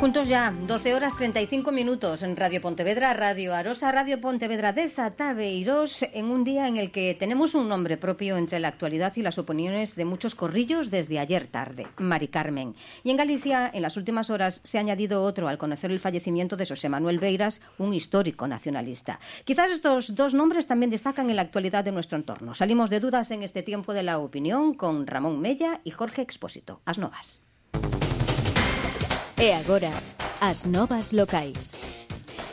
Juntos ya, 12 horas 35 minutos en Radio Pontevedra, Radio Arosa, Radio Pontevedra de Zataveiros, en un día en el que tenemos un nombre propio entre la actualidad y las opiniones de muchos corrillos desde ayer tarde, Mari Carmen. Y en Galicia, en las últimas horas, se ha añadido otro al conocer el fallecimiento de Xosé Manuel Beiras, un histórico nacionalista. Quizás estos dos nombres también destacan en la actualidad de nuestro entorno. Salimos de dudas en este tiempo de la opinión con Ramón Mella y Jorge Expósito. As novas. E agora, as novas locais.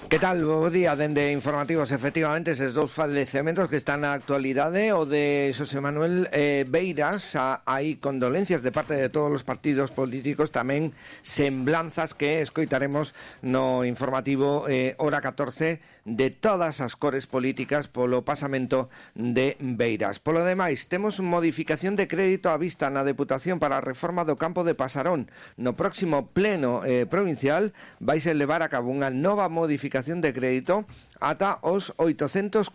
Que tal? Bo día, dende informativos. Efectivamente, eses dous falecementos que están na actualidade, o de Xosé Manuel Beiras, hai condolencias de parte de todos os partidos políticos, tamén semblanzas que escoitaremos no informativo hora 14 de todas as cores políticas polo pasamento de Beiras. Polo demais, temos modificación de crédito á vista na Deputación para a reforma do campo de Pasarón. No próximo pleno provincial vaise levar a cabo unha nova modificación de crédito ata os 844.000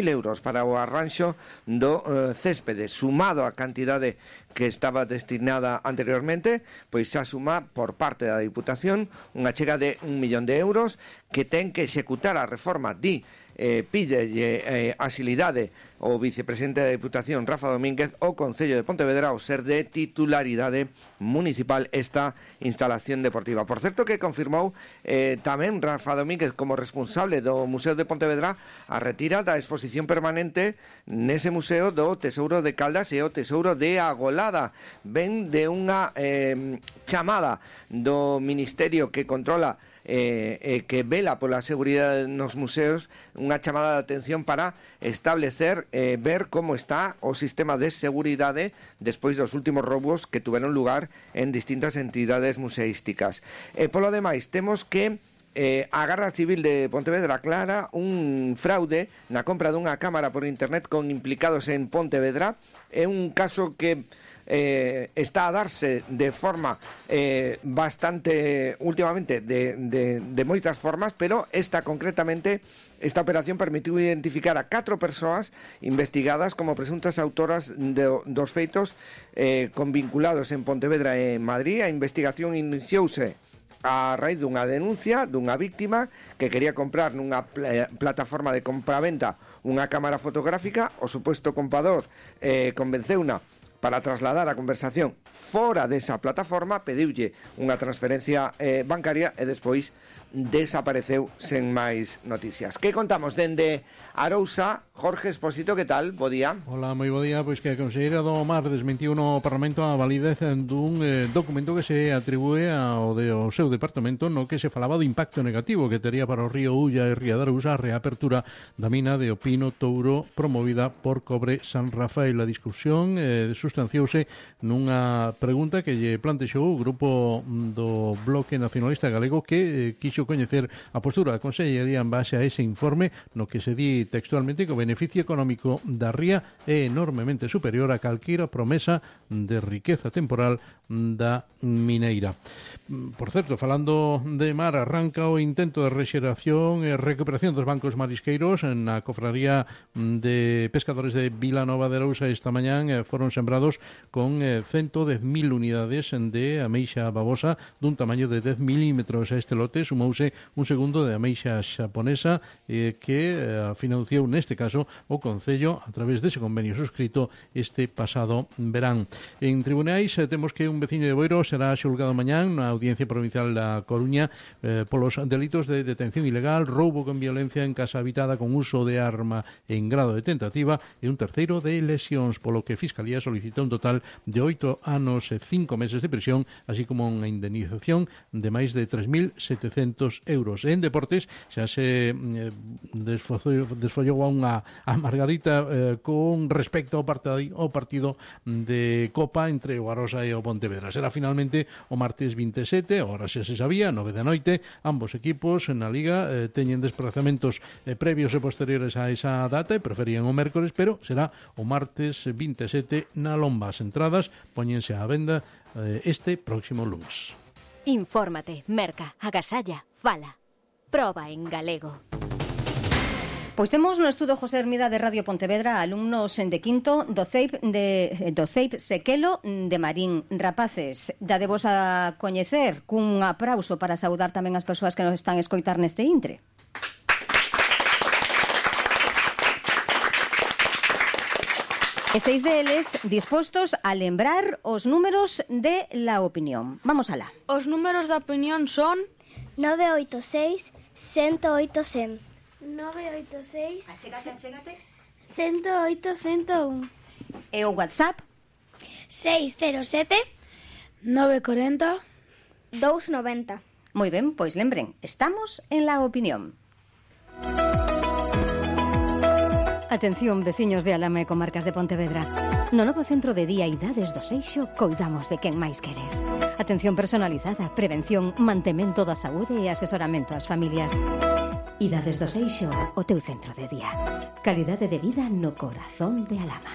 euros para o arranxo do céspede, sumado a cantidade que estaba destinada anteriormente, pois xa suma por parte da Diputación unha chega de 1 millón de euros que ten que executar a reforma. Pídelle axilidade o vicepresidente da Diputación, Rafa Domínguez, o Concello de Pontevedra ao ser de titularidade municipal esta instalación deportiva. Por certo que confirmou tamén Rafa Domínguez como responsable do Museo de Pontevedra a retira da exposición permanente nese museo do Tesouro de Caldas e o Tesouro de Agolada. Ven de unha chamada do Ministerio que controla que vela pola seguridade nos museos, unha chamada de atención para establecer, ver como está o sistema de seguridade despois dos últimos roubos que tuveron lugar en distintas entidades museísticas. Polo demais, temos que a Garda Civil de Pontevedra aclara un fraude na compra dunha cámara por internet con implicados en Pontevedra. É un caso que está a darse de forma bastante últimamente de moitas formas, pero esta operación permitiu identificar a 4 persoas investigadas como presuntas autoras dos feitos con vinculados en Pontevedra e Madrid. A investigación iniciouse a raíz dunha denuncia dunha víctima que quería comprar nunha plataforma de compraventa unha cámara fotográfica. O suposto comprador convenceuna para trasladar a conversación fora desa plataforma, pediulle unha transferencia bancaria e despois desapareceu sen máis noticias. Que contamos dende Arousa? Jorge Expósito, que tal? Bo día. Hola, moi bo día. Pois que a Conselleira do Mar desmentiu no Parlamento a validez dun documento que se atribúe ao seu departamento no que se falaba do impacto negativo que tería para o río Ulla e Ría de Arousa a reapertura da mina de Opino Touro promovida por Cobre San Rafael. A discusión sustanciouse nunha pregunta que lle plantexou o grupo do Bloque Nacionalista Galego que quixo coñecer a postura da Consellería en base a ese informe no que se di textualmente que o beneficio económico da ría é enormemente superior a calquera promesa de riqueza temporal da mineira. Por certo, falando de mar, arranca o intento de rexeración e recuperación dos bancos marisqueiros na cofraría de pescadores de Vilanova de Arousa. Esta mañán foron sembrados con 110.000 unidades de ameixa babosa dun tamaño de 10 milímetros. A este lote sumouse un segundo de ameixa xaponesa que financiou neste caso o Concello a través dese convenio suscrito este pasado verán. En tribunais temos que un veciño de Boiro será xulgado mañán na Audiencia Provincial da Coruña polos delitos de detención ilegal, roubo con violencia en casa habitada con uso de arma en grado de tentativa e un terceiro de lesións, polo que a Fiscalía solicita un total de 8 anos e 5 meses de prisión, así como unha indemnización de máis de 3.700 euros. En deportes xa se desfollou a Margarita con respecto ao partido de Copa entre o Arosa e o Pontevedra. Será finalmente o martes 27, agora xa se sabía, 9 da noite. Ambos equipos na Liga teñen desplazamentos previos e posteriores a esa data e preferían o mércores, pero será o martes 27 na Lomba. As entradas póñense á venda este próximo lunes. Infórmate, merca, agasalla, fala. Proba en galego. Pois temos no estudo José Hermida de Radio Pontevedra alumnos de quinto do CEIP Sequelo de Marín. Rapaces, dadevos a coñecer cun aplauso para saudar tamén as persoas que nos están a escoitar neste intre. E 6 deles dispostos a lembrar os números de la opinión. Vamos alá. Os números da opinión son 986 108 100. 986 Achégate. 108 101. E o WhatsApp 607 940 290. Moi ben, pois lembren, estamos en la opinión. Atención, veciños de Alama e comarcas de Pontevedra. No novo centro de día Idades do Seixo coidamos de quen máis queres. Atención personalizada, prevención, mantemento da saúde e asesoramento ás familias. Idades do Seixo, o teu centro de día. Calidade de vida no corazón de Alama.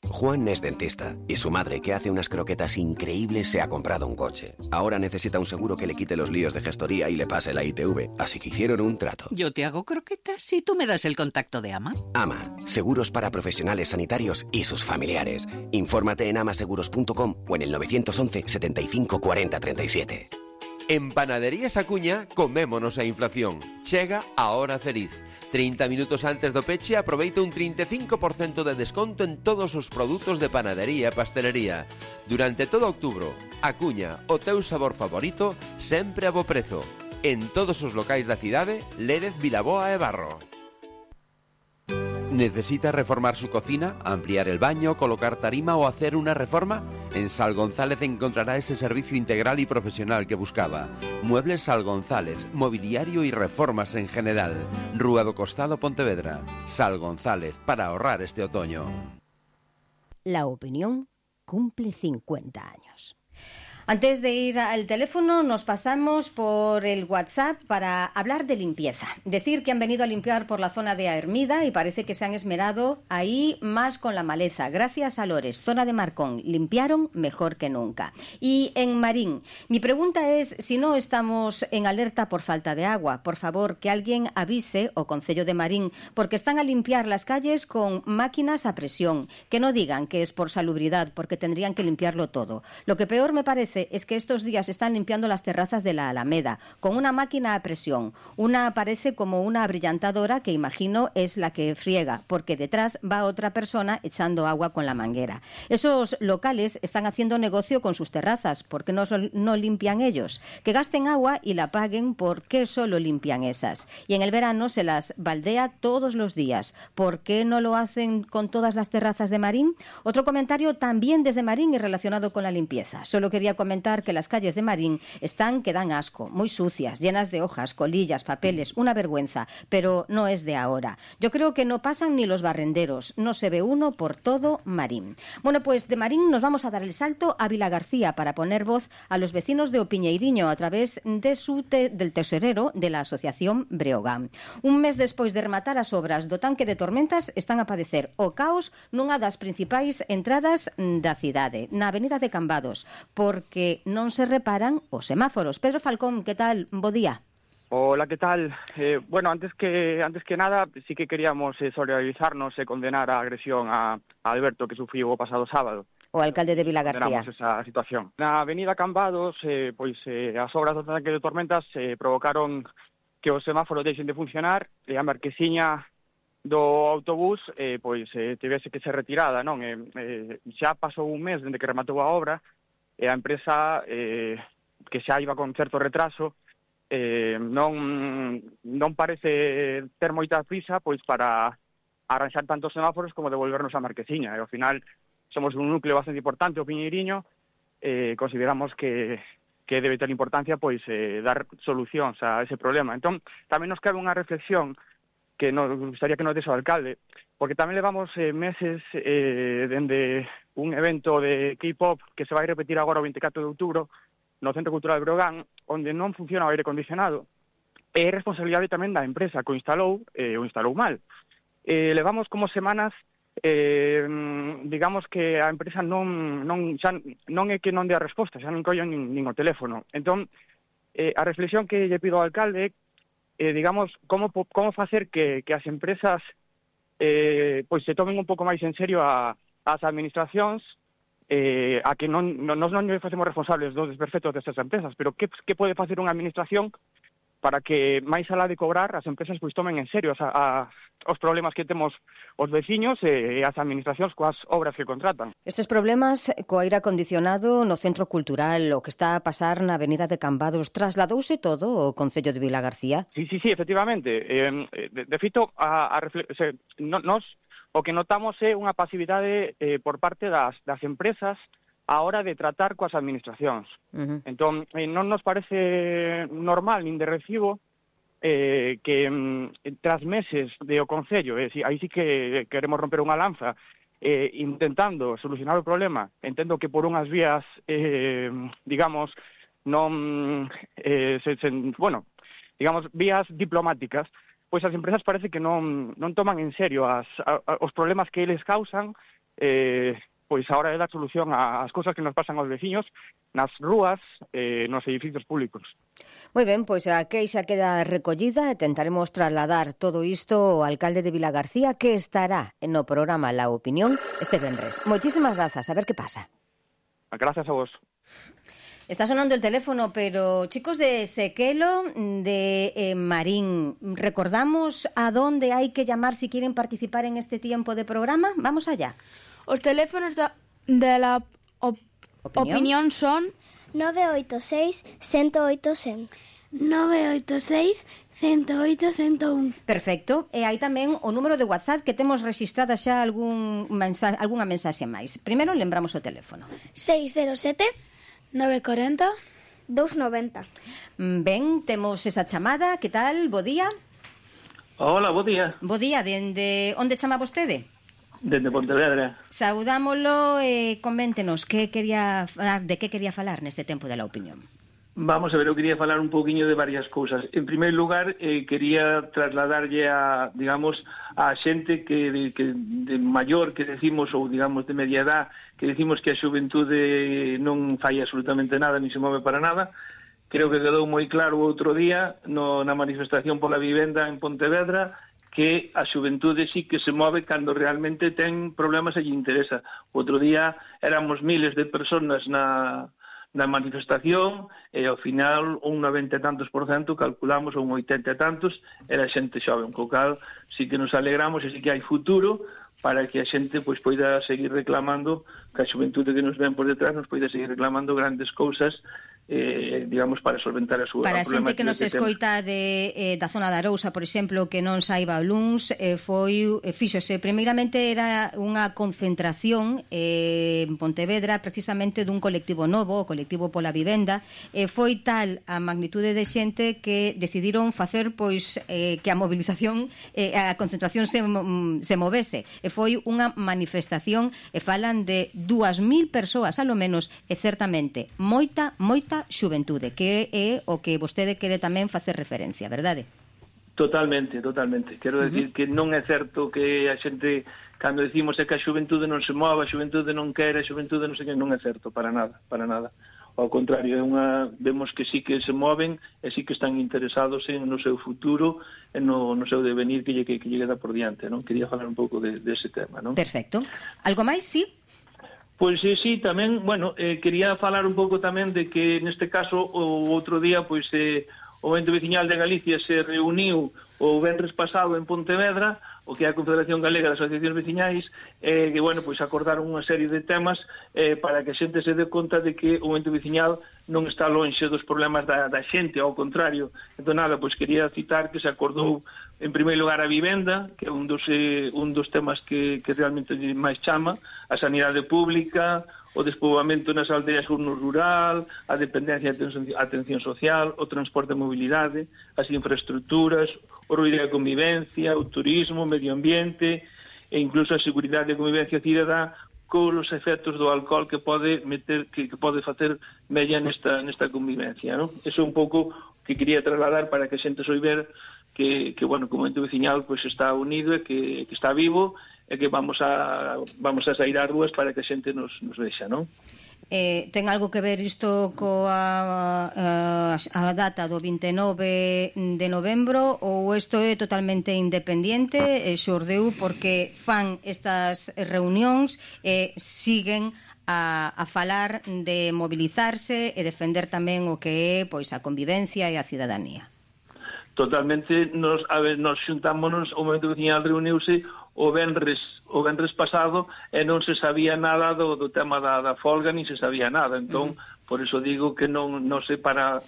Juan es dentista y su madre, que hace unas croquetas increíbles, se ha comprado un coche. Ahora necesita un seguro que le quite los líos de gestoría y le pase la ITV, así que hicieron un trato. Yo te hago croquetas y tú me das el contacto de AMA. AMA, seguros para profesionales sanitarios y sus familiares. Infórmate en amaseguros.com o en el 911 75 40 37. En Panaderías Acuña comémonos a inflación. Chega a hora feliz. 30 minutos antes do peche aproveita un 35% de desconto en todos os produtos de panadería e pastelería. Durante todo outubro, Acuña, o teu sabor favorito, sempre a bo prezo. En todos os locais da cidade, Lérez, Vilaboa e Barro. ¿Necesita reformar su cocina, ampliar el baño, colocar tarima o hacer una reforma? En Sal González encontrará ese servicio integral y profesional que buscaba. Muebles Sal González, mobiliario y reformas en general. Rúa do Costado, Pontevedra. Sal González, para ahorrar este otoño. La opinión cumple 50 años. Antes de ir al teléfono, nos pasamos por el WhatsApp para hablar de limpieza. Decir que han venido a limpiar por la zona de Hermida y parece que se han esmerado ahí más con la maleza. Gracias a Lores, zona de Marcón, limpiaron mejor que nunca. Y en Marín, mi pregunta es si no estamos en alerta por falta de agua. Por favor, que alguien avise o Concello de Marín, porque están a limpiar las calles con máquinas a presión. Que no digan que es por salubridad, porque tendrían que limpiarlo todo. Lo que peor me parece es que estos días están limpiando las terrazas de la Alameda con una máquina a presión. Una parece como una abrillantadora que imagino es la que friega, porque detrás va otra persona echando agua con la manguera. Esos locales están haciendo negocio con sus terrazas. ¿Por qué no limpian ellos? Que gasten agua y la paguen. ¿Por qué solo limpian esas? Y en el verano se las baldea todos los días. ¿Por qué no lo hacen con todas las terrazas de Marín? Otro comentario también desde Marín y relacionado con la limpieza. Solo quería comentar que las calles de Marín están que dan asco, muy sucias, llenas de hojas, colillas, papeles, una vergüenza, pero no es de ahora. Yo creo que no pasan ni los barrenderos, no se ve uno por todo Marín. Bueno, pues de Marín nos vamos a dar el salto a Vilagarcía para poner voz a los vecinos de Opiñeiriño a través de del tesorero de la Asociación Breogán. Un mes despois de rematar as obras do tanque de tormentas están a padecer o caos nunha das principais entradas da cidade, na Avenida de Cambados, porque non se reparan os semáforos. Pedro Falcón, que tal? Bo día. Hola, ¿qué tal? Bueno, antes que nada, sí que queríamos solidarizarnos e condenar a agresión a Alberto que sufriu o pasado sábado. O alcalde de Vilagarcía. Condenamos esa situación. Na Avenida Cambados, as obras do tanque de tormentas provocaron que os semáforos deixen de funcionar e a marquesiña do autobús tivese que ser retirada, non? Xa pasou un mes dende que rematou a obra e a empresa, que xa iba con certo retraso, non parece ter moita prisa pois para arranxar tantos semáforos como devolvernos a marquesiña. E ao final somos un núcleo bastante importante, o Piñeiriño, consideramos que debe ter importancia pois dar solucións a ese problema. Entón, tamén nos cabe unha reflexión que nos gustaría que nos dese o alcalde, porque tamén levamos meses dende un evento de K-pop que se vai repetir agora o 24 de outubro no Centro Cultural de Breogán, onde non funciona o aire acondicionado. É responsabilidade tamén da empresa que o instalou mal. Levamos como semanas, digamos que a empresa non é que non dé a resposta, xa non collen nin o teléfono. Entón, a reflexión que lle pido ao alcalde digamos, como facer que as empresas pois se tomen un pouco máis en serio as administracións, a que non facemos responsables dos desperfectos destas empresas, pero que pode facer unha administración para que, máis alá de cobrar, as empresas pois tomen en serio os problemas que temos os veciños e as administracións coas obras que contratan. Estes problemas co aire acondicionado no Centro Cultural, o que está a pasar na Avenida de Cambados, trasladouse todo ao Concello de Vilagarcía? Sí, efectivamente. De feito, nos o que notamos é unha pasividade por parte das empresas a hora de tratar coas administracións. Entón, non nos parece normal nin de recibo que tras meses de o Concello, aí sí que queremos romper unha lanza, intentando solucionar o problema, entendo que por unhas vías, digamos, non, digamos, vías diplomáticas, pois as empresas parece que non toman en serio os problemas que eles causan, pois a hora de dar solución ás cousas que nos pasan aos veciños nas rúas, nos edificios públicos. Moi ben, pois a queixa queda recollida e tentaremos trasladar todo isto ao alcalde de Vilagarcía, que estará no programa La Opinión este vendres. Moitísimas grazas, a ver que pasa. Gracias a vos. Está sonando el teléfono, pero chicos de Sequelo, de Marín, ¿recordamos a dónde hay que llamar si quieren participar en este tiempo de programa? Vamos allá. Os teléfonos de la opinión son 986 108 100. 986 108 101. Perfecto. E hai tamén o número de WhatsApp que temos registrada xa algunha mensaxe máis. Primeiro lembramos o teléfono. 607 940 290. Ben, temos esa chamada. Que tal? Bo día. Hola, bo día. Bo día. Dende onde chama vostede? Dende Pontevedra. Saudámolo e coméntenos de que quería falar neste tempo de La Opinión. Vamos a ver, eu quería falar un poquinho de varias cousas. En primeiro lugar, quería trasladarlle a xente que de maior que decimos, ou digamos de media edad, que decimos que a xuventude non fai absolutamente nada, ni se move para nada. Creo que quedou moi claro outro día na manifestación pola vivenda en Pontevedra que a xuventude sí que se move cando realmente ten problemas e lle interesa. Outro día éramos miles de personas na manifestación e ao final un 90 e tantos %, calculamos, ou un 80 e tantos, era xente xoven, co cal sí que nos alegramos e sí que hai futuro para que a xente pois poida seguir reclamando, que a xuventude que nos ven por detrás nos poida seguir reclamando grandes cousas, digamos, para solventar a súa para a xente que nos escoita da zona da Arousa, por exemplo, que non saiba Bluns, fíxose, primeiramente era unha concentración en Pontevedra, precisamente dun colectivo novo, o colectivo pola vivenda, foi tal a magnitude de xente que decidiron facer pois que a movilización, a concentración se movese, e foi unha manifestación, e falan de 2.000 persoas, alo menos, e certamente moita xuventude, que é o que vostede quere tamén facer referencia, verdade? Totalmente. Quero decir que non é certo que a xente, cando decimos é que a xuventude non se move, a xuventude non quere, a xuventude non sei que, non é certo, para nada. Ao contrario, vemos que sí que se moven e sí que están interesados no seu futuro e no seu devenir que lle queda por diante, non? Quería falar un pouco dese tema, non? Perfecto. Algo máis, sí? Pois sí, tamén, quería falar un pouco tamén de que neste caso o outro día pois o Ente Veciñal de Galicia se reuniu o venres pasado en Pontevedra, o que é a Confederación Galega de Asociacións Veciñais, que, pois acordaron unha serie de temas para que a xente se dé conta de que o Ente Veciñal non está lonxe dos problemas da xente, ao contrario. Entón, pois quería citar que se acordou, en primeiro lugar, a vivenda, que é un dos temas que realmente máis chama, a sanidade pública, o despoboamento nas aldeas no rural, a dependencia e atención social, o transporte e mobilidade, as infraestructuras, o ruido e a convivencia, o turismo, o medio ambiente e incluso a seguridade e convivencia cidadá cos efectos do alcohol que pode facer mella nesta convivencia, non? Eso é un pouco que quería trasladar para que a xente soiber que como ente veciñal pois está unido e que está vivo e que vamos a sair ás rúas para que a xente nos vexa, non? Ten algo que ver isto coa a data do 29 de novembro ou isto é totalmente independente e xordeu porque fan estas reunións e siguen a falar de mobilizarse e defender tamén o que é pois a convivencia e a cidadanía? Totalmente, nos xuntámonos, o momento que tiña reuniuse o venres pasado e non se sabía nada do tema da folga, ni se sabía nada. Entón, por iso digo que non sei para,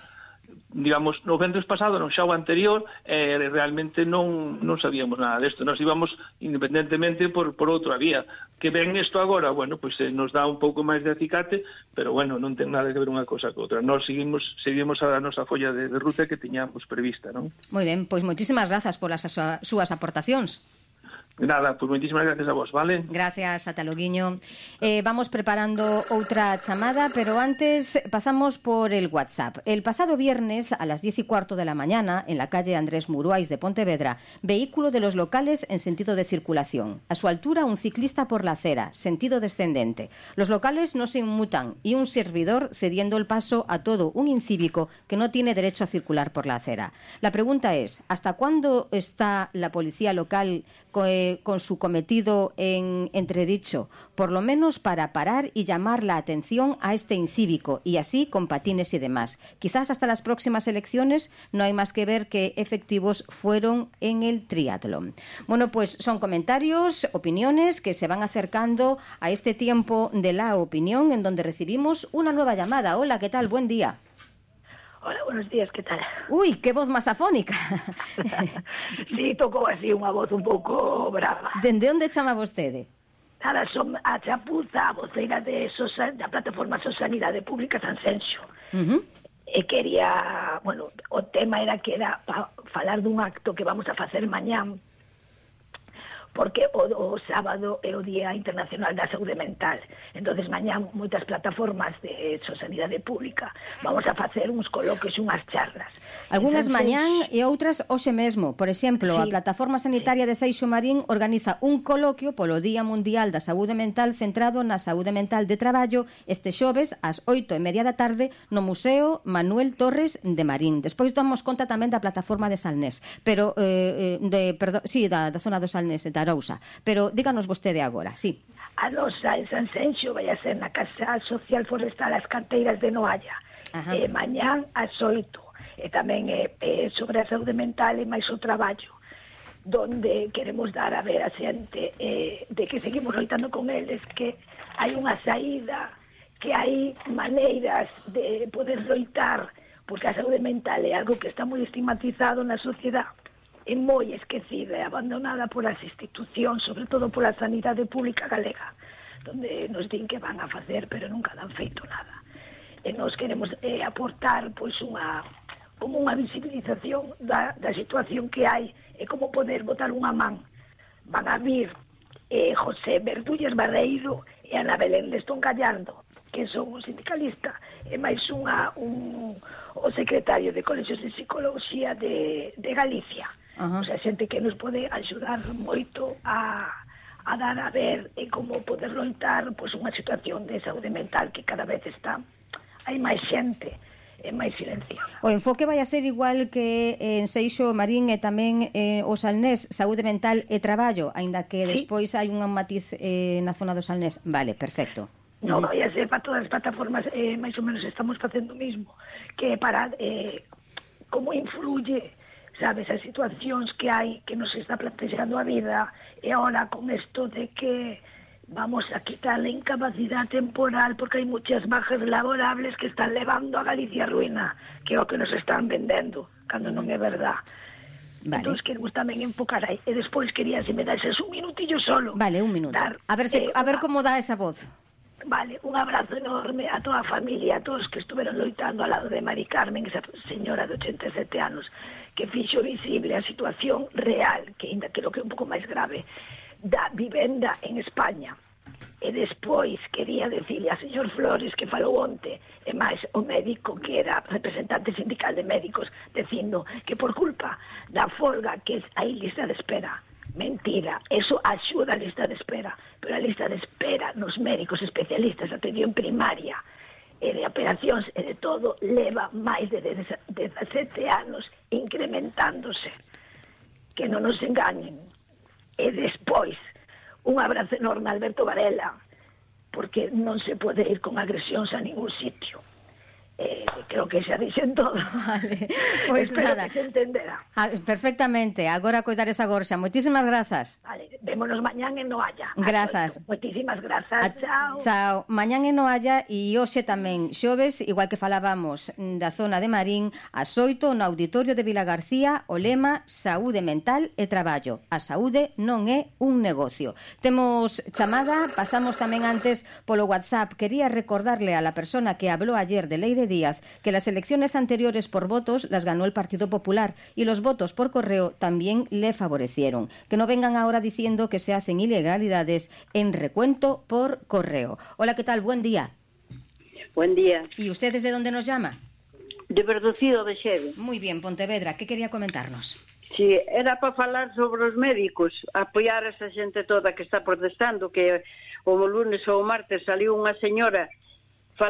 digamos, no venres pasado, non xa o anterior, realmente non sabíamos nada desto. Nos íbamos independentemente por outra vía. Que ven isto agora, bueno, pois nos dá un pouco máis de acicate, pero bueno, non ten nada que ver unha cosa co outra. Nós seguimos a nosa folla de ruta que tiñamos prevista, non? Moi ben, pois moitísimas grazas polas súas aportacións. Nada, pues moitísimas gracias a vos, vale? Gracias, ata loguiño. Vamos preparando outra chamada, pero antes pasamos por el WhatsApp. El pasado viernes a las 10:15 de la mañana, en la calle Andrés Muruais de Pontevedra, vehículo de los locales en sentido de circulación. A su altura, un ciclista por la acera, sentido descendente. Los locales no se inmutan y un servidor cediendo el paso a todo un incívico que no tiene derecho a circular por la acera. La pregunta es, ¿hasta cuándo está la policía local con su cometido en entredicho, por lo menos para parar y llamar la atención a este incívico y así con patines y demás? Quizás hasta las próximas elecciones no hay más que ver qué efectivos fueron en el triatlón. Bueno, pues son comentarios, opiniones que se van acercando a este tiempo de la opinión en donde recibimos una nueva llamada. Hola, ¿qué tal? Buen día. Hola, buenos días, ¿qué tal? Uy, qué voz más afónica. Sí, tocou así unha voz un pouco brava. Dende onde chama vostede? Nada, son a Chapuza, a voceira da plataforma Sanidade Pública Sanxenxo. E quería, bueno, o tema era que era para falar dun acto que vamos a facer mañán, porque o sábado é o Día Internacional da Saúde Mental. Entonces, mañán, moitas plataformas de Sanidade Pública vamos a facer uns coloquios e unhas charlas. Algúnas mañán e outras hoxe mesmo. Por exemplo, a Plataforma Sanitaria de Seixo Marín organiza un coloquio polo Día Mundial da Saúde Mental centrado na saúde mental de traballo este xoves ás 8:30 da tarde no Museo Manuel Torres de Marín. Despois damos conta tamén da Plataforma de Salnés, pero da zona do Salnés, da Arousa. Pero díganos vostede agora, sí. A nosa en Sanxenxo vai a ser na Casa Social Forestal As Canteiras de Noalla. Mañán ás 8. E tamén sobre a saúde mental e máis o traballo, donde queremos dar a ver a xente de que seguimos loitando con eles, que hai unha saída, que hai maneiras de poder loitar, porque a saúde mental é algo que está moi estigmatizado na sociedade, é moi esquecida e abandonada polas institucións, sobre todo pola sanidade pública galega, donde nos din que van a facer, pero nunca dan feito nada. E nos queremos aportar pois como unha visibilización da situación que hai e como poder botar unha man. Van a vir José Verdulles Barreiro e Ana Belén Lestón Gallardo, que son un sindicalista, e máis o secretario de Colexios de Psicología de Galicia. O sea, xente que nos pode axudar moito a dar a ver como poder loitar pois, unha situación de saúde mental que cada vez hai máis xente e máis silenciada. O enfoque vai a ser igual que en Seixo Marín e tamén o Salnés, saúde mental e traballo, aínda que despois hai un matiz na zona do Salnés. Vale, perfecto. Non vai a ser para todas as plataformas, máis ou menos estamos facendo o mismo, que para como influye, sabes, as situacións que hai, que nos está plantexando a vida, e ahora con isto de que vamos a quitar la incapacidade temporal porque hai muchas bajas laborables que están levando a Galicia a ruína, que é o que nos están vendendo, cando non é verdad. Vale. Entón, queremos tamén enfocar aí. E despois quería, se me dases un minutillo solo. Vale, un minuto. A ver como dá esa voz. Vale, un abrazo enorme a toda a familia, a todos que estuveron loitando ao lado de Mari Carmen, esa señora de 87 anos, que fixo visible a situación real, que ainda creo que é un pouco máis grave, da vivenda en España. E despois quería decirle a señor Flores que falou onte, e máis o médico que era representante sindical de médicos, dicindo que por culpa da folga que hai lista de espera. Mentira, eso axuda a lista de espera. pero a lista de espera nos médicos especialistas de atención primaria e de operacións e de todo leva máis de 17 anos incrementándose. Que non nos engañen. E despois, un abrazo enorme a Alberto Varela, porque non se pode ir con agresións a ningún sitio. Creo que xa dixen todo. Vale, pois espero nada. Que se entenderá. Perfectamente, agora coidar esa gorxa. Moitísimas grazas. Vale, vémonos mañán en Noalla. Grazas. Moitísimas grazas, chao. Chao. Mañán en Noalla e hoxe tamén xoves, igual que falábamos da zona de Marín, ás 8 no Auditorio de Vilagarcía, o lema Saúde mental e traballo. A saúde non é un negocio. Temos chamada, pasamos tamén antes polo WhatsApp. Quería recordarle a la persona que habló ayer de Leire Díaz que las elecciones anteriores por votos las ganó el Partido Popular y los votos por correo también le favorecieron. Que no vengan ahora diciendo que se hacen ilegalidades en recuento por correo. Hola, ¿qué tal? Buen día. Buen día. ¿Y usted desde dónde nos llama? De Verdocido de Xeve. Muy bien, Pontevedra. ¿Qué quería comentarnos? Sí, era para falar sobre os médicos, apoiar a esa xente toda que está protestando, que o lunes ou o martes saliu unha señora